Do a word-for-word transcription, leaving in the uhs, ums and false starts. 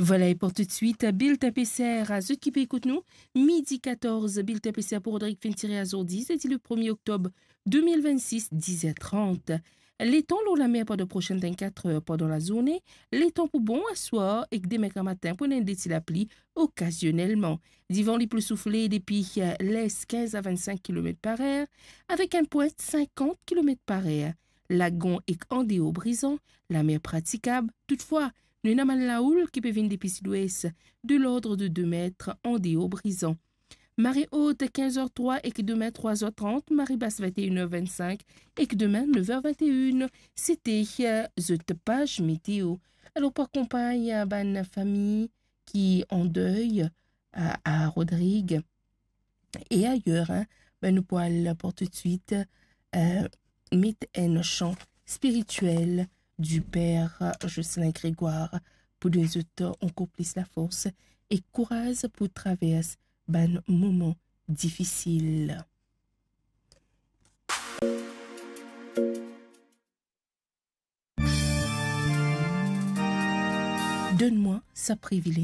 Vwala, e pou toutswit, Bilten Peser, a zot ki pe ekout nou, midi katorz, Bilten Peser pou Rodrig finn tire azordi, zedi le premie oktob de mil vennsis, diz er trant. Letan lor lamer pandan prosenn vennkat er pandan lazourne, letan pou bon aswar ek demin gramatin pou ena enn de ti lapli okazionelman. Divan li pou soufle depi, eh, les kinz a vennsink kilomet par er, avek enn pwint sinkant kilomet par er. Lagon ek andeor brizan, lamer pratikab. Toutfwa, nou ena bann laoul ki pe vinn depi sidwes, de lord de de met andeor brizan. Mare ot, kinz er trwa ek demin trwa er trant, mare bas, vennteen er vennsink ek demin, nef er vennteen. Sete, eh, zot paz meteo. Alor, pou akonpagn, eh, bann fami ki an dey, eh, a Rodrig e ayer, hein, be, nou pou al pou toutswit, eh, met enn san spiritiel di per Jocelyn Grégoire pou donn zot ankor plis lafors e kouraz pou travers bann moman difisil. Donn mwa sa privilez